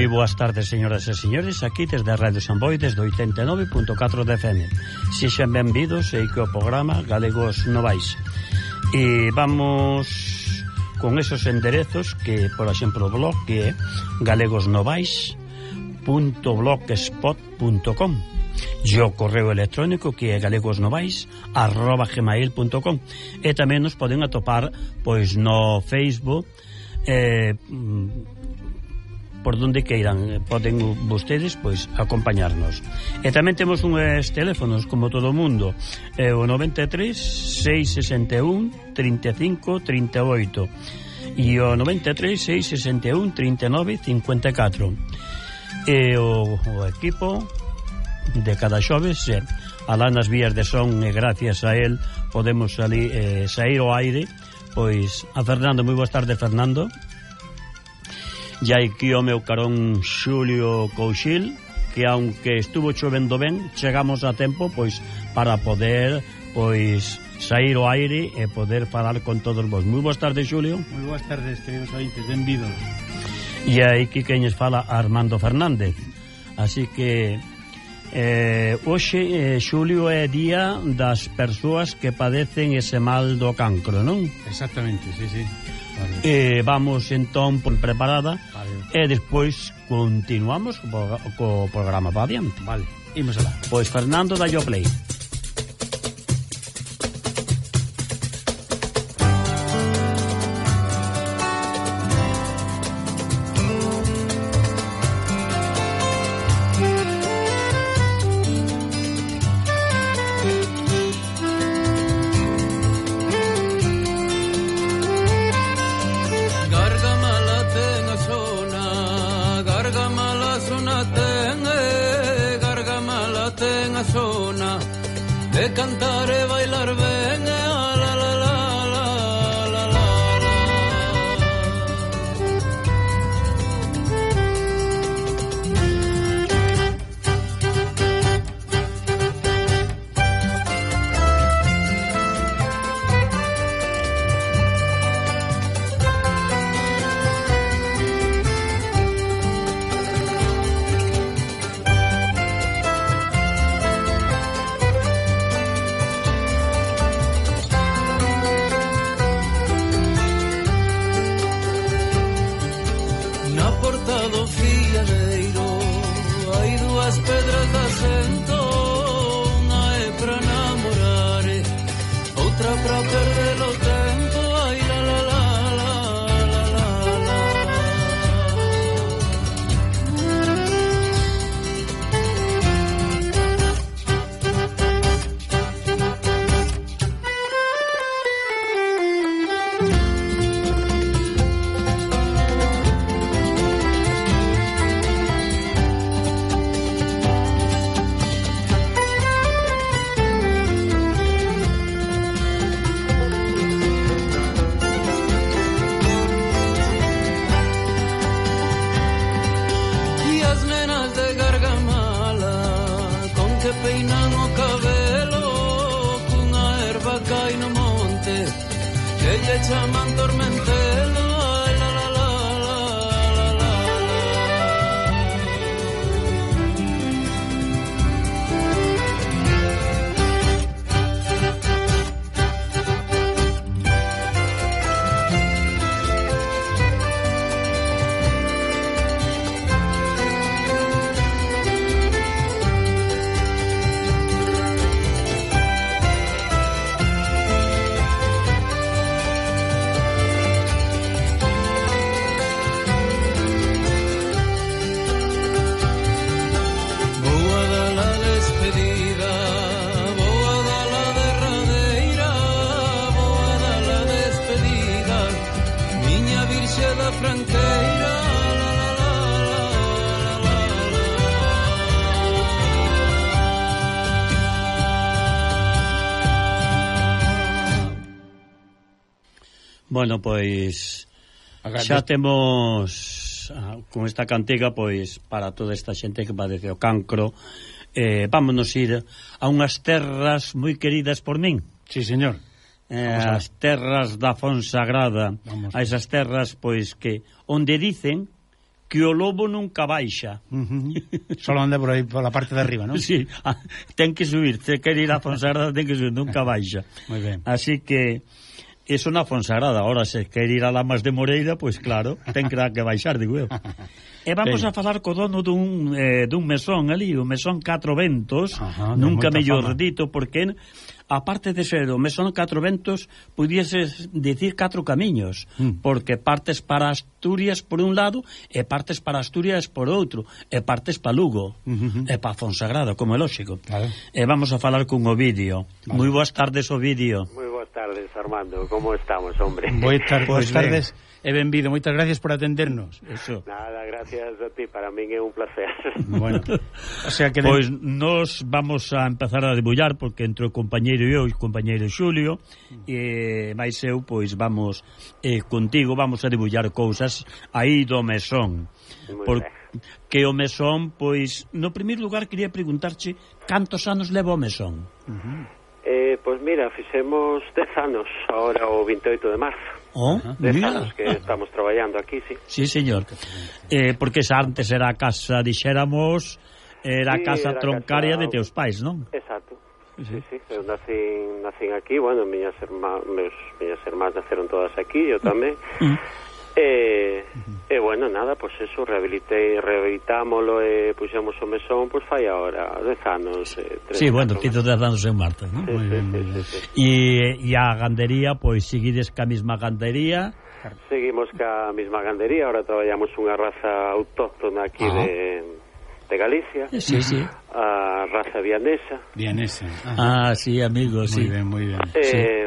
Moi boas tardes, señoras e señores, aquí desde a Radio San Boi, desde 89.4 de FM. Sexan benvidos e que o programa Galegos Novais. E vamos con esos enderezos que, por exemplo, o blog que é galegosnovais.blogspot.com e o correo electrónico que é galegosnovais@gmail.com. E tamén nos poden atopar pois no Facebook, por donde queiran, poden vostedes pois acompañarnos. E tamén temos uns teléfonos como todo o mundo, o 93 661 35 38 e o 93 661 39 54. E o equipo de cada xoves alá nas vías de son, e gracias a él podemos sair ao aire. Pois a Fernando, moi boas tardes, Fernando. E aquí o meu carón Xulio Couchil, que aunque estuvo chovendo ben, chegamos a tempo pois para poder pois sair ao aire e poder falar con todos vos. Moi boas tardes, Xulio. Moi boas tardes, queridos ointes, benvidos. E aquí queñes fala Armando Fernández. Así que hoxe, Xulio, é día das persoas que padecen ese mal do cancro, non? Exactamente, sí. Vale. Vamos entón preparada, vale. E despois continuamos co programa para adiante. Vale, imos alá. Pois Fernando, dai o play. De cantar e bailar ben, la la la la la la la. Bueno, pois xa temos con esta cantiga pois para toda esta xente que padece o cancro. Vámonos ir a unhas terras moi queridas por min. Sí, señor. As terras da Fonsagrada, a esas terras pois que onde dicen que o lobo nunca baixa. Solo anda por aí, por la parte de arriba, ¿no? Sí, ten que subir, se quer ir a Fonsagrada ten que subir, nunca baixa. Moi ben. Así que eso na Fonsagrada. Ahora, se quer ir a Lamas de Moreira, pois claro, ten que baixar, digo eu. E vamos a falar co dono dun mesón ali, o mesón Catro Ventos. Ajá, nunca mellor fama. dito, porque aparte de ser o mesón Catro Ventos, pudieses dicir catro camiños, porque partes para Asturias por un lado, e partes para Asturias por outro, e partes para Lugo, e para Fonsagrada, como é lógico. Claro. E vamos a falar con Ovidio. Vale. Moi boas tardes, Ovidio. Moi boas tardes, Armando. Como estamos, hombre? Boas Pois tardes e benvido. Moitas gracias por atendernos. Eso. Nada, gracias a ti. Para min é un placer. Bueno, o sea que... Pois nos vamos a empezar a debullar, porque entre o compañeiro e eu, o compañeiro Xulio, e máis eu, pois vamos contigo, vamos a debullar cousas aí do mesón. Moi ben. Que o mesón, pois, no primeiro lugar quería preguntarche cantos anos leva o mesón? Pois mira, fixemos 10 anos ahora o 28 de marzo. Oh, 10 mira. anos que estamos traballando aquí, sí. Sí, señor. Porque esa antes era a casa, dixéramos, era a Sí, casa era a troncaria casa- de teus pais, non? Exacto. Sí, sí. Eu nacín aquí, bueno, miñas irmás naceron todas aquí, eu tamén. E bueno, nada, pois pues eso, rehabilitámolo e puxemos o mesón, pois fai agora 10 anos. Sí, bueno, fizo 10 anos en Marta, non? Sí, Moi sí, ben, sí, moi ben. sí, sí. E a gandería, pois seguides ca mesma gandería. Seguimos ca mesma gandería, ahora traballamos unha raza autóctona aquí de Galicia, Sí, sí. a raza vianesa. Bien ese. Ah, sí, amigo, sí. Moi ben, moi ben.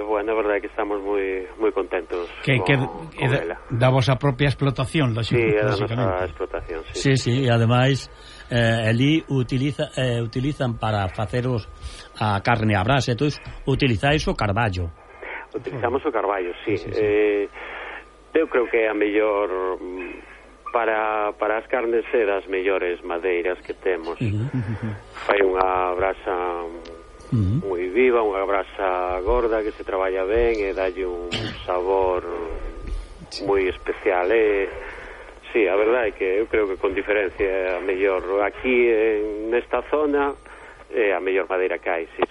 Bueno, a verdade é que estamos moi contentos Que con ela. da vosa propia explotación, Sí, é da nosa lógicamente. explotación, sí. Sí, sí, e ademais ali utilizan para faceros a carne a brasa, entón utilizáis o carballo. Utilizamos o carballo, sí. Eu creo que é a mellor para as carnes é das mellores madeiras que temos. Fai unha brasa moi viva, unha brasa gorda que se traballa ben e dalle un sabor moi especial. Sí, a verdade é que eu creo que con diferencia é a mellor aquí nesta zona é a mellor madeira que hai, sí.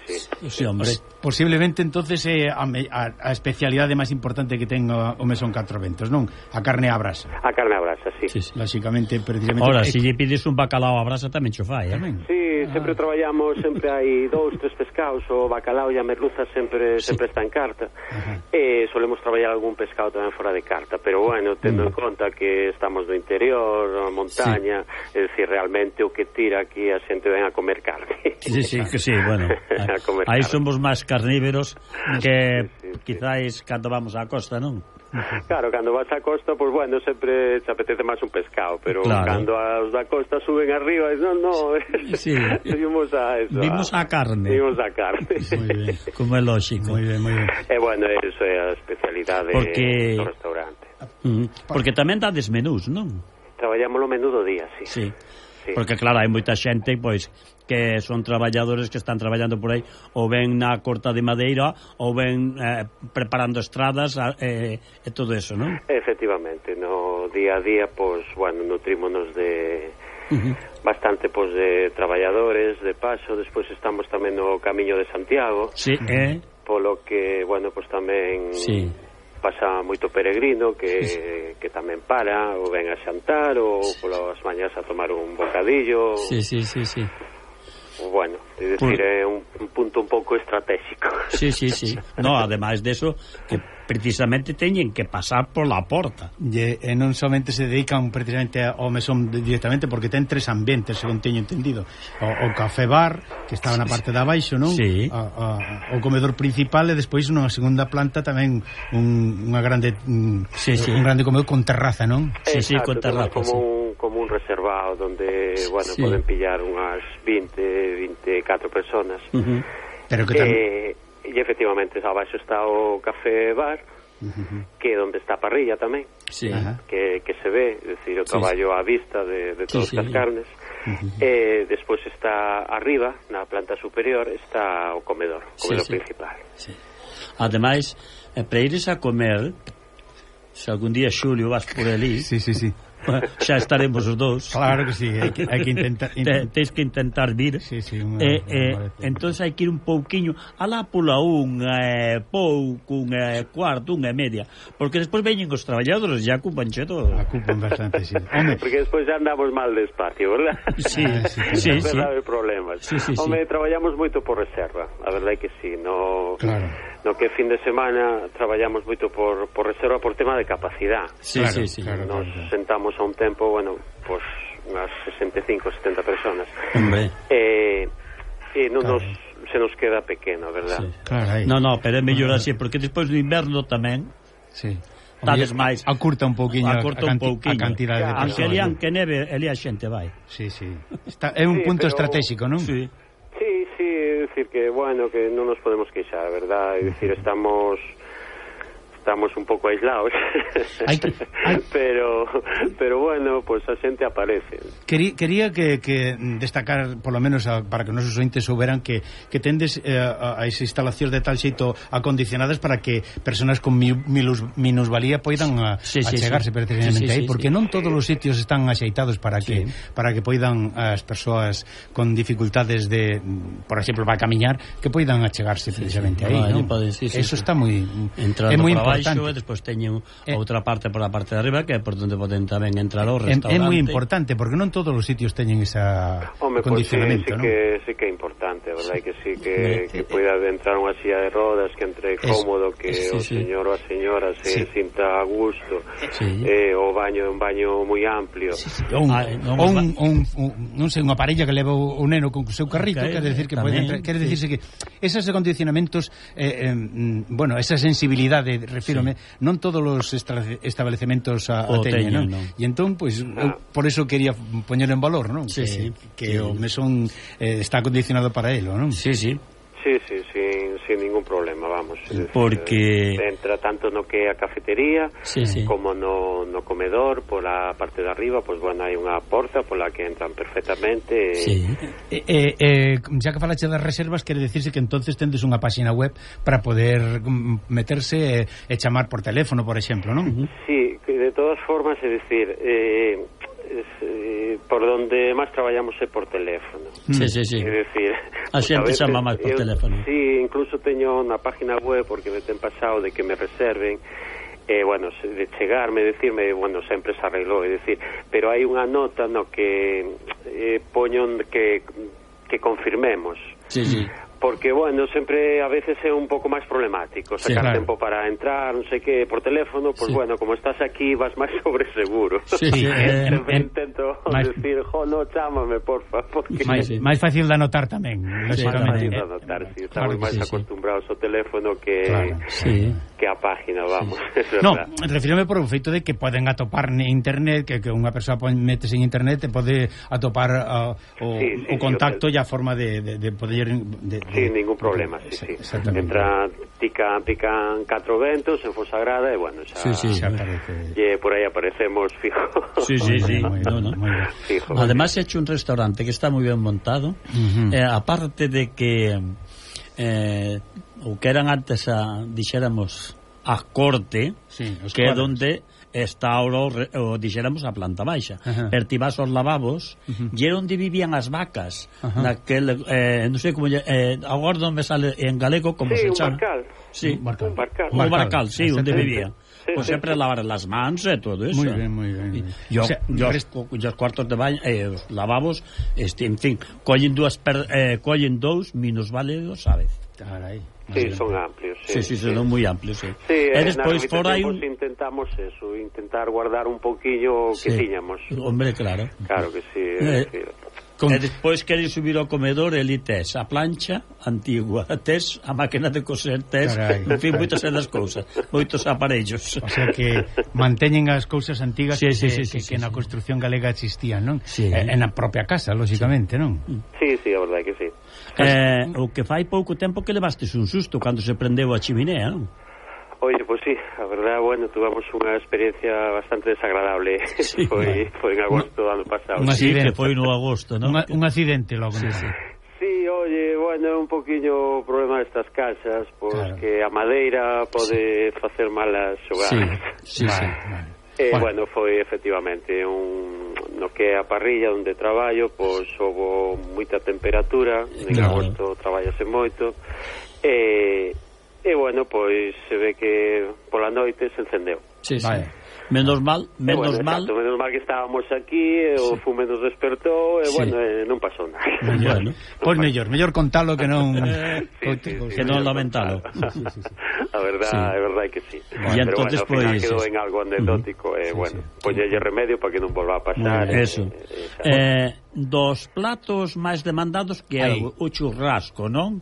Sí, hombre. Posiblemente entonces é a especialidade máis importante que ten o mesón Catro Ventos, non? A carne á brasa. A carne a brasa, sí. Sí, sí. Lógicamente, precisamente. Ora, se lle pides un bacalao a brasa tamén cho fai, Tamén. Sí, sempre traballamos, sempre hai 2, 3 pescados, o bacalao e a merluza sempre está en carta. E solemos traballar algún pescado tamén fora de carta, pero bueno, tendo en conta que estamos no interior, na montaña, é dicir, realmente o que tira aquí a xente ven a comer carne. Sí, que sí, bueno. A comer Aí carne. somos máis carnívoros que Sí. quizáis cando vamos á costa, non? Claro, cando vas á costa, pues bueno, sempre te apetece máis un pescado, pero Claro. cando os da costa suben arriba, no, Sí. vimos a eso. Vimos a carne. Vimos a carne. Moi ben. Como é lógico. Moi ben, moi ben. E bueno, eso é a especialidade Porque- do restaurante. Porque tamén dades menús, non? Traballamos o menú do día, sí. Sí. Sí. Porque claro, hai moita xente pois que son traballadores que están traballando por aí ou ven na corta de madeira ou ven preparando estradas e todo eso, non? Efectivamente, no día a día, pues bueno, nutrímonos de bastante pues de traballadores de paso, despois estamos tamén no Camiño de Santiago, Sí, polo que, bueno, pues tamén sí. pasa moito peregrino que tamén para ou ven a xantar ou polas mañas a tomar un bocadillo. Sí. Bueno, é dicir, é un punto un pouco estratégico. Sí. No, ademais deso que precisamente teñen que pasar pola porta. E non somente se dedican precisamente ao mesón directamente, porque ten 3 ambientes, según teño entendido. O café bar, que estaba na parte de abaixo, non? Sí. O comedor principal e despois nunha segunda planta tamén unha grande Sí. un grande comedor con terraza, non? Sí, Exacto, con terraza, como sí. como un reservado donde, bueno, Sí. poden pillar unhas 24 personas. Pero que tamén E efectivamente abaixo está o café bar, que é onde está a parrilla tamén, Sí. Ajá. que se ve, é dicir, o traballo á vista de todas Sí. as carnes. E despois está arriba, na planta superior, está o comedor Sí. principal. Sí. Ademais, para ires a comer, se algún día, Xulio, vas por ali, Sí. xa estaremos os dous. Claro que sí, hai que intentar... Tens que intentar vir. Sí, Entón hai que ir un pouquiño alá pola unha, pouco, unha cuarto, unha media, porque despois veñen os traballadores e acupan todo. Acupan bastante, sí. Home, porque despois já andamos mal de espacio, verdad? Sí. Verdade, problemas. Home, traballamos moito por reserva, a verdade é que sí, no que fin de semana traballamos moito por reserva por tema de capacidade. Claro. Nos sentamos a un tempo, bueno, pues unhas 65, 70 personas. Hombre. Non se nos queda pequeno, verdad? Sí. Claro, aí. No, pero é mellor así, porque despois do inverno tamén tales máis. Acurta un pouquiño a cantidade de persoas. Aunque neve, ali a xente vai. Sí. É un punto estratégico, non? Sí, é dicir que, bueno, que non nos podemos queixar, verdad? É dicir, estamos un pouco aislados. pero bueno, pues a xente aparece. Quería que destacar, por lo menos para que os nosos ointes souberan que tendes as instalacións de tal xeito acondicionadas para que personas con minusvalía poidan achegarse precisamente aí, porque non todos os sitios están axeitados para que poidan as persoas con dificultades de, por exemplo, para camiñar, que poidan achegarse precisamente aí, non? Eso está moi importante. E despois teñen outra parte por a parte de arriba, que é por onde poden tamén entrar ao restaurante. É moi importante, porque non todos os sitios teñen esa condicionamento, non? Sí que é importante, a verdade que sí, que poida entrar unha silla de rodas, que entre cómodo, que o señor ou a señora se sinta a gusto, o baño é un baño moi amplio. Non sei, unha parella que leva o neno con o seu carrito, quere decir que pode entrar, quere dicirse que esos condicionamentos, bueno, esa sensibilidade, refírome, non todos os establecementos a teñen, non? E entón, pois, por eso quería poñer en valor, non? Que o mesón está acondicionado para elo, non? Sí, sin ningún problema, vamos. Porque entra tanto no que é a cafetería como no comedor, pola parte de arriba, pois bueno, hai unha porta pola que entran perfectamente. Já que falaxe das reservas, quere decirse que entonces tendes unha páxina web para poder meterse e chamar por teléfono, por exemplo, non? Sí, de todas formas, é dicir, por donde máis traballamos é por teléfono. Sí. É dicir, a xente chama máis por teléfono. Sí, incluso teño na página web, porque me ten pasado de que me reserven, bueno, de chegarme, decirme, bueno, sempre se arreglou, é dicir, pero hai unha nota no que poño que confirmemos. Sí. Porque, bueno, sempre a veces é un pouco máis problemático sacar tempo para entrar, non sei que, por teléfono, pues bueno, como estás aquí vas máis sobre seguro. Sempre intento decir, no, chámame, porfa, porque... máis fácil de anotar tamén. Máis fácil de anotar, sí. Estamos máis acostumbrados ao teléfono que a página, vamos. No, refírome por o feito de que poden atopar en internet, que unha persoa metes en internet e pode atopar o contacto e a forma de poder... Sin ningún problema, sí. Entra, pican 4 ventos en Fonsagrada e, bueno, xa aparece. E por aí aparecemos fijo. Sí. Fijo. Además, he hecho un restaurante que está moi ben montado, aparte de que o que eran antes dixéramos a corte, que é donde está ahora dixéramos a planta baixa. Pero ti vas aos lavabos e era onde vivían as vacas, naquel non sei como agora non me sale en galego como se chama. Un barcal, sí, onde vivían. Pues sempre lavar as mans e todo eso. Moi ben. E os cuartos de baño, os lavabos, en fin, collen dous minusválidos a vez. Carai. Sí, son amplios. Sí, son moi amplios, sí. E despois fora hai intentamos eso, intentar guardar un pouquillo que tiñamos. Hombre, claro. Claro que sí. E despois queres subir ao comedor e ali tes a plancha antigua, tes a máquina de coser, tes, en fin, moitas das cousas, moitos aparellos. O sea que manteñen as cousas antigas que na construción galega existían, non? En a propia casa, lógicamente, non? Sí, a verdade que sí. O que fai pouco tempo que levastes un susto cando se prendeu a chiminea, non? Oye, pues sí, a verdad, bueno, tuvamos unha experiencia bastante desagradable. Foi en agosto do ano pasado. Sí, que foi no agosto, non? Un accidente logo. Sí, oye, bueno, un poquinho o problema destas casas, pois que a madeira pode facer malas xogadas. Sí. Bueno, foi efectivamente no que é a parrilla onde traballo, pois houve moita temperatura, en agosto traballase moito, e bueno, pois se ve que pola noite se encendeu. Sí, sí. Menos mal, menos mal que estábamos aquí, o fume nos despertou, e bueno, non pasou nada. Bueno, pois mellor contalo que non que non lamentalo. A verdade que sí. E entonces bueno, ao final quedou en algo anecdótico, bueno, poñelle remedio para que non volva a pasar. Eso. Dos platos máis demandados que é o churrasco, non?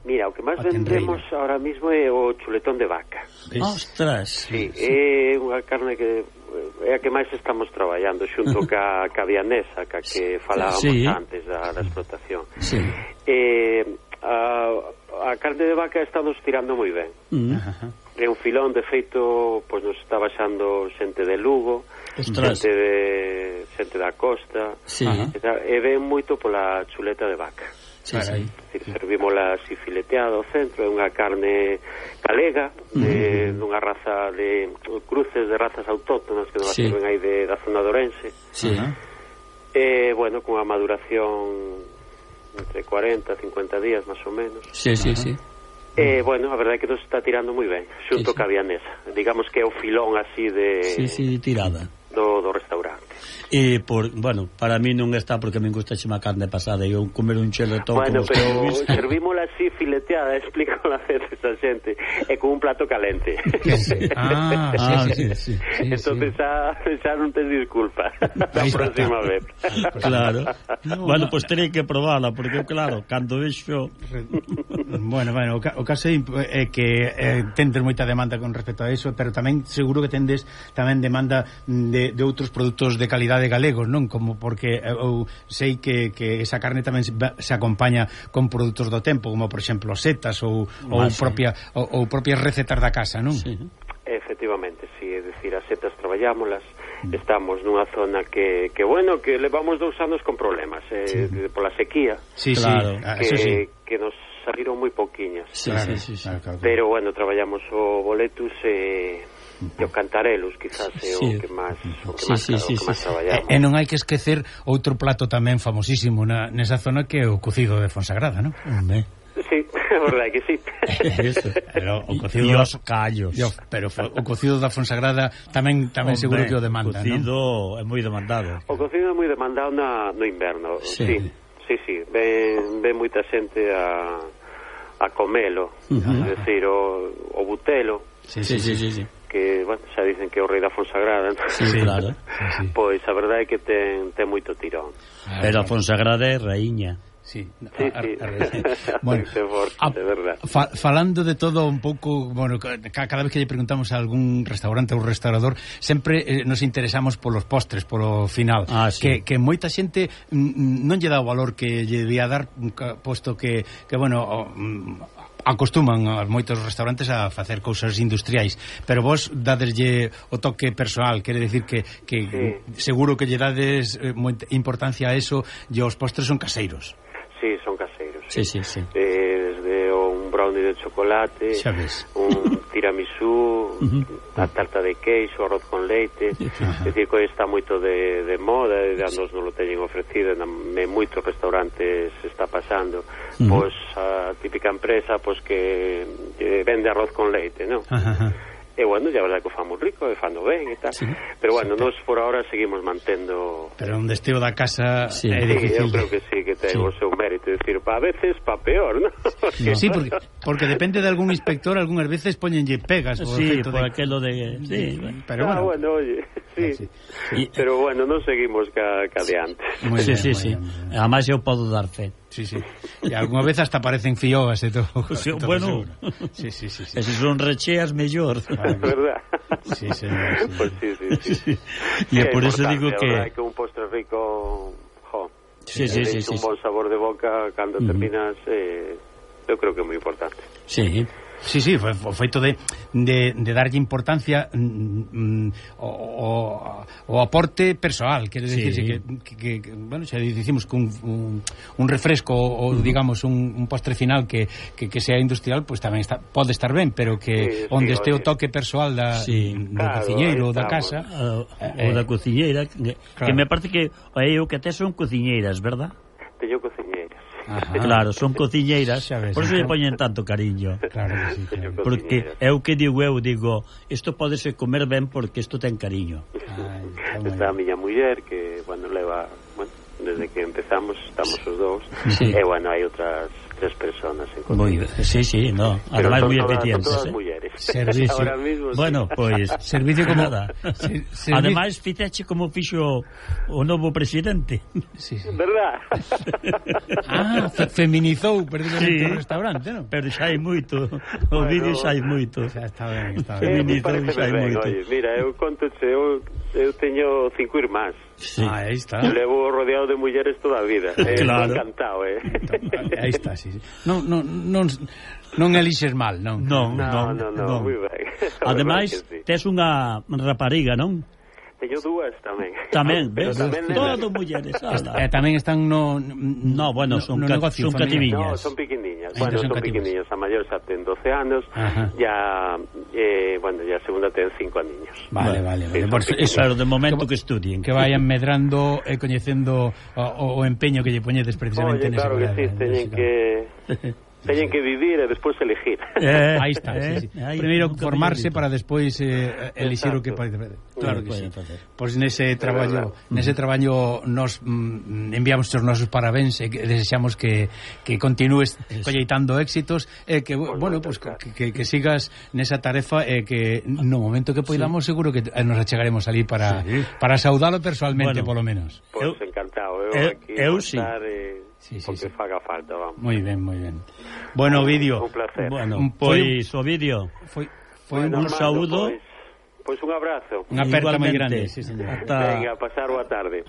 Mira, o que máis vendemos ahora mismo é o chuletón de vaca. Ostras. Sí, é unha carne que é a que máis estamos traballando xunto ca vianesa, que falábamos antes da explotación. Sí. A carne de vaca estamos tirando moi ben. É un filón, de feito, pois nos está baixando xente de Lugo, xente da costa, e ven moito pola chuleta de vaca. Servímola así fileteada ao centro, é unha carne galega, dunha raza de cruces de razas autóctonas que nos sirven aí da zona de Ourense. Bueno, con a maduración entre 40 e 50 días máis ou menos. Bueno, a verdade é que nos está tirando moi ben xunto ca vianesa, digamos que é o filón así de tirada do restaurante. E bueno, para mí non está porque me gusta chema carne pasada e eu comer un chuletón. Bueno, pero servímola así fileteada, explico a veces a xente, e con un plato calente. Sí. Entonces xa non tes disculpa a próxima vez. Claro. Bueno, pues terei que probarla porque claro, cando vexo Bueno, o caso é que tendes moita demanda con respecto a eso, pero tamén seguro que tendes tamén demanda de outros produtos de calidade galegos, non? Como porque eu sei que esa carne tamén se acompaña con produtos do tempo, como por exemplo setas ou propias recetas da casa, non? Sí. Efectivamente, sí, é dicir, as setas traballámolas, estamos nunha zona que bueno, que levamos 2 anos con problemas, pola sequía. Claro. Que nos saliron moi pouquiñas. Claro. Pero bueno, traballamos o boletus e o cantarelos, quizás é o que máis traballamos. E non hai que esquecer outro plato tamén famosísimo nesa zona que é o cocido de Fonsagrada, non? Sí, é verdade que sí. Pero o cocido dos callos. Pero o cocido da Fonsagrada tamén seguro que o demanda, non? O cocido é moi demandado. O cocido é moi demandado no inverno. Sí. Ven moita xente a comelo, é dicir, o butelo. Sí. Que, bueno, xa dicen que é o rei da Fonsagrada, claro. Pois a verdade é que ten moito tirón. Pero a Fonsagrada é raíña. Sí. Bueno, de verdad. Falando de todo un pouco, bueno, cada vez que lle preguntamos a algún restaurante ou restaurador, sempre nos interesamos polos postres, polo final, que moita xente non lle dá o valor que lle debía dar, posto que bueno, acostuman a moitos restaurantes a facer cousas industriais, pero vos dadeslle o toque personal, quere decir que seguro que lle dades moita importancia a eso, e os postres son caseiros. Sí, son caseiros. Sí. Desde un brownie de chocolate, un tiramisú, a tarta de queixo, arroz con leite. É dicir, que está moito de moda, e nos non lo teñen ofrecido, en moitos restaurantes está pasando. Pois a típica empresa que vende arroz con leite, non? E bueno, ya verdade que o famos rico e fando ben e tal, pero bueno, nos por ahora seguimos mantendo. Pero un destino da casa é difícil. Eu creo que sí, que ten o seu mérito, decir, a veces pa peor, ¿no? Sí, porque depende de algún inspector, algunhas veces poñenlle pegas por aquilo de pero bueno, oye, sí. Pero bueno, non seguimos ca adiante. Sí. Además eu podo dar fe. Sí. E algunha vez hasta parecen fioas e todo. Bueno. Sí. E se son recheas mellor. ¿Verdad? Sí, señor. Pues sí. E por eso digo que un postre rico, Sí. Un bon sabor de boca cando terminas, eu creo que é moi importante. Sí. Sí, o feito de darlle importancia o aporte persoal, quere dicirse que bueno, xa dicimos que un refresco ou digamos un postre final que sea industrial, pois tamén pode estar ben, pero que onde este o toque persoal do cociñeiro ou da casa ou da cociñeira, que me parece que o que tes son cociñeiras, verdad? Teño cociñeiras. Ajá. Claro, son cociñeiras, por eso lle poñen tanto cariño. Claro que sí, claro. Porque é o que digo, isto podese comer ben porque isto ten cariño. Está a miña muller que, leva, desde que empezamos estamos os dous, e, hai outras 3 personas en cociña. Sí, no, ademais moi eficientes. Son todas mulleres. Servicio. Ahora mismo, bueno, pois servicio como nada. Ademais, fixeche como fixo o novo presidente. Sí. Verdad? Feminizou perdidamente o restaurante, non? Pero xa hai moito. O vídeo xa hai moito. Xa está ben. Feminizou xa hai moito. Oye, mira, eu contoche, eu teño 5 irmás. Sí. Aí está. Levo rodeado de mulleres toda a vida. Claro. Encantado, Aí está, sí. Non elixes mal, non? Non, moi ben. Ademais, tes unha rapariga, non? Teño 2 tamén. Tamén, ves? Tamén todo mulleres. Tamén están son cativiñas. No, son pequeniñas. Son pequeniñas. A maior xa ten 12 anos, ya a segunda ten 5 aniños. Vale. Claro, de momento que estudien. Que vayan medrando e coñecendo o empeño que lle poñedes precisamente nese. Claro que sí, teñen que vivir e despois elegir. Aí está, sí. Primeiro formarse para despois elixir o que pode facer. Claro que sí. Pois nese traballo nos enviamos os nosos parabéns e desexamos que continúes colleitando éxitos e que que sigas nesa tarefa e que no momento que poidamos seguro que nos achegaremos ali para saudalo persoalmente, polo menos. Pois encantado. Eu sí. Porque faga falta, vamos. Moi ben. Bueno, Ovidio. Un placer. Bueno, pois Ovidio. Foi un saúdo. Pois un abrazo. Unha aperta moi grande, sí, señor. Venga, pasar boa tarde.